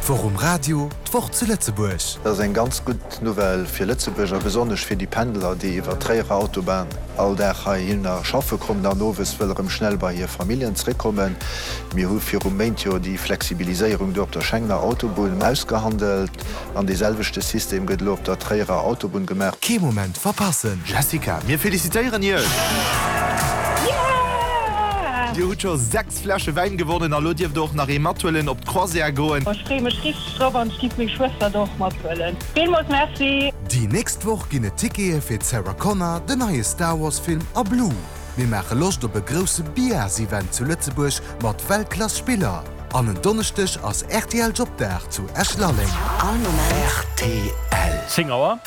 D'Woch um Radio, d'Woch zu Lëtzebuerg. Dat ass eng ganz gutt Nouvelle fir Lëtzebuerg a besonnesch fir déi Pendler, déi iwwer d'Tréierer Autobahn all Dag heihinner schaffe kommen an owes wëlle rëm schnell bei hir Familljen zréckkommen. Mir hu viru Méint jo déi Flexibiliséierung do op der Schengener Autobunn ausgehandelt an dee selwechte System gëtt elo op der Tréierer Autobunn gemaach. Kee Moment verpassen! Jessica, mir felicitéieren Iech! Dir hutt scho 6 Fläsche Wäin gewonnen a lo dierft der och nach ee mathuelen op d'Croisière goen. Ech freeë mech richteg drop an ech giff meng Schwëster do och mathuelen. Villmools Merci! Déi nächst Woch ginn et Tickete fir d'Sarah Connor, den neie Star Wars Film a Blue. Mir maache Loscht op e grousse Biars-Event zu Lëtzebuerg mat Weltklass Spiller. An en Donneschdeg ass rtl Jobdag zu Esch-Lalleng. All Moment. Rtl. 10 Auer.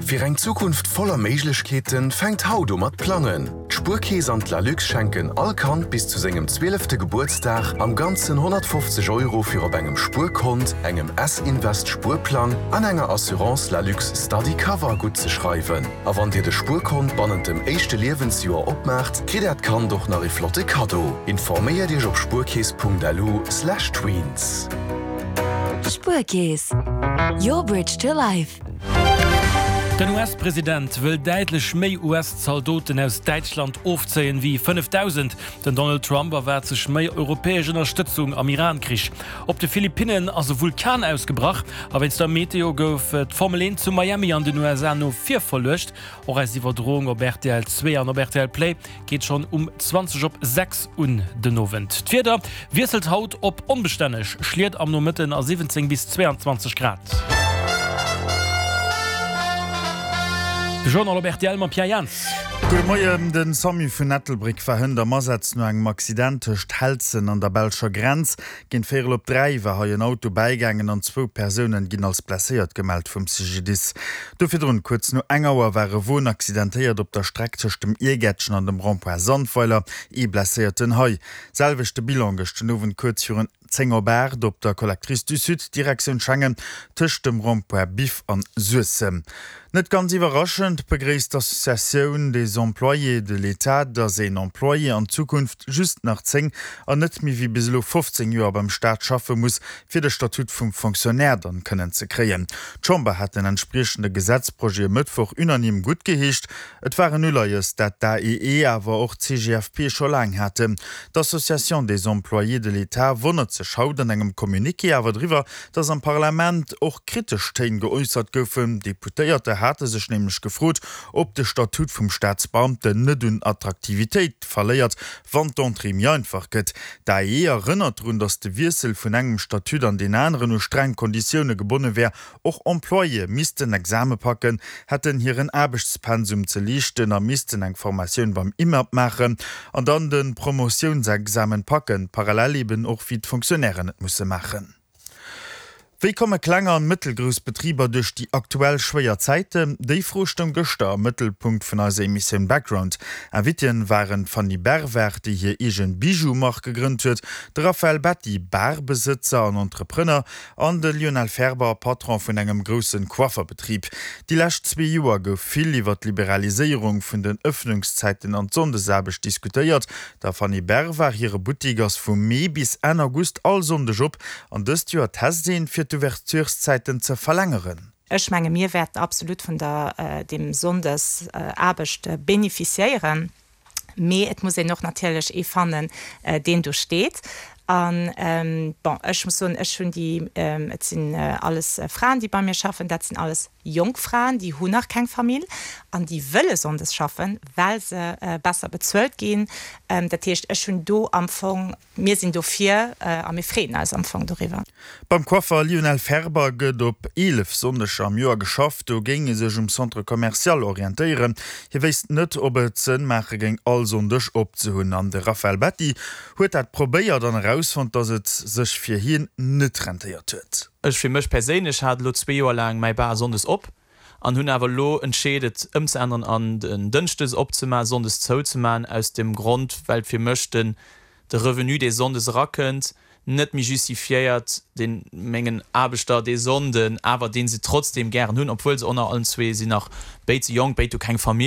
Fir eng Zukunft voller Méiglechkeeten fänkt haut u mat plangen. D'Spuerkeess an d'Lalux schenken all Kand bis zu sengem zwielefte Gebuertsdag am Ganzen 150 Euro fir op engem Spuerkont, engem S-Invest Spuerplang an enger Assurance Lalux Study Cover guttzeschreiwen. A wann dir de Spuerkont bannent dem éischte Liewensjoer opmaacht, kritt äert Kand och nach ee flotte Kaddo. Informéiert iech op spuerkeess.lu/tweens. Spuerkeess, your bridge to life. Den US-President wëll däitlech méi US-Zaldoten aus Däitschland ofzéien wéi 5.000. Den Donald Trump erwaart sech méi europäesch Ënnerstëtzung am Iran-Krich. Op de Philippinnen ass e Vulkan ausgebrach a wéinst der Meteo gouf d'Formel 1 zu Miami an den USA no vir verluecht. Och eis Iwwerdroung op rtl 2 an op rtl Play Geet schonn um 20 op 6 un den Owend. D'Wieder wiesselt haut op onbestänneg, Schliet am Nomëtten a 17 bis 22 Grad. De Journal op rtl mam Pierre Jans. Gudde Moien. Den Samu vun Ettelbréck war hënt am Asaz no engem Accident tëscht Helzen an der belscher Grenz. Géint véierel op 3 war hei en Auto bäigaangen an zwou Persounen ginn als blesséiert gemellt vum CGDIS. Do virdrun, kuerz no eng Auer, war e Won accidentéiert op der Streck tëscht dem Iergäertchen an dem Rond-point Sandweiler, ee Blesséierten hei. Selwechte Bilan gëscht den Owend kuerz virun 10 op 8 op der Collectrice du Sud, Direktioun Schengen, tëscht dem Rond-point Biff an Suessem. Net ganz iwwerraschend begréisst d'Associatioun des Employés de l'État, datt een Employé an Zukunft just nach 10 an net méi wéi bis elo 15 Joer beim Staat schaffe muss, fir de Statut vum Fonctionnaire dann kënnen ze kréien. D'Chamber hat den entspriechende Gesetzprojet e Mëttwoch unanime guttgeheescht. Et war en Uleies, dat d'AEE awer och d'CGFP scho laang haten. D'Association des Employés de l'État wonnert sech haut an engem Communiqué awer driwwer, datt am Parlament och kritesch Téin geäussert goufen. Deputéierter hate sech nämlech gefrot, ob de Statut vum Staatsbeamten net un Attraktivitéit verléiert, wann d'Entrée méi einfach gëtt. D'AEE erënnert drun, datt de Wiessel vun engem Statut an deen aneren u streng Konditioune gebonne wär. Och Employéë missten Exame packen, hätten hiren Aarbechtspensum ze liichten a missten eng Formatioun beim IMAP maachen an dann de Promotiounsexamen packen, parallel eben och wéi d'Fonctionnairen et musse maachen. Wéi komme kleng an mëttelgrouss Betriber duerch déi aktuell schwéier Zäiten? Déi Fro stoung gëschter am Mëttelpunkt vun eiser Emissioun Background. Inviteeën waren d'Fanny Bervard, déi hir eegen Bijou-Mark gegrënnt huet, de Raphaël Betti, Bar-Besëtzer an Entrepreneur, an de Lionel Ferber, Patron vun engem groussen Coifferbetrib. Déi lescht zwee Joer gouf vill iwwer d'Liberaliséierung vun den Ëffnungszäiten an d'Sonndesaarbecht diskutéiert. Der Fanny Bervard hire Buttik ass vu Mee bis Enn August all Sonndeg op an dëst Joer test een, fir d'Ouvertureszäiten ze verlängeren. Ech menge mir wäerten absolut vun der deem Sonndesaarbecht bénéficiéieren. Mee et muss een och natierlech ee fannen, deen do steet. An, bon, ech muss soen, ech hunn déi, et sinn alles Fraen, déi bei mir schaffen, dat sinn alles jonk Fraen, déi hunn nach keng Famill an déi wëlle sonndes schaffen, well se besser bezuelt ginn. Dat heescht, ech hunn do am Fong Mir sinn dofir a mir freeën eis am Fong doriwwer. Beim Coiffer Lionel Ferber gëtt op 11 Sonndeger am Joer geschafft. Do géing e sech um Centre commercial orientéieren. Hie wéisst net, ob et Sënn maache géing, all Sonndeg op ze hunn. An de Raphaël Betti huet dat probéiert an erausfonnt, datt et sech fir hien net rentéiert huet. Ech fir mech perséinlech hat elo zwee Joer laang mäi Bar sonndes op an hunn awer elo entscheet et ëmzeänneren an den Dënschdes opzemaen, Sonndes zouzemaen, aus dem Grond well fir mech den de Revenu dee Sonndes erakënnt net méi justifiéiert deen mengen Aarbechter dee Sonnden awer deen se trotzdem gären hunn, obwuel se onnner allen zwee sinn nach béid ze jonk, béid hu keng Famill.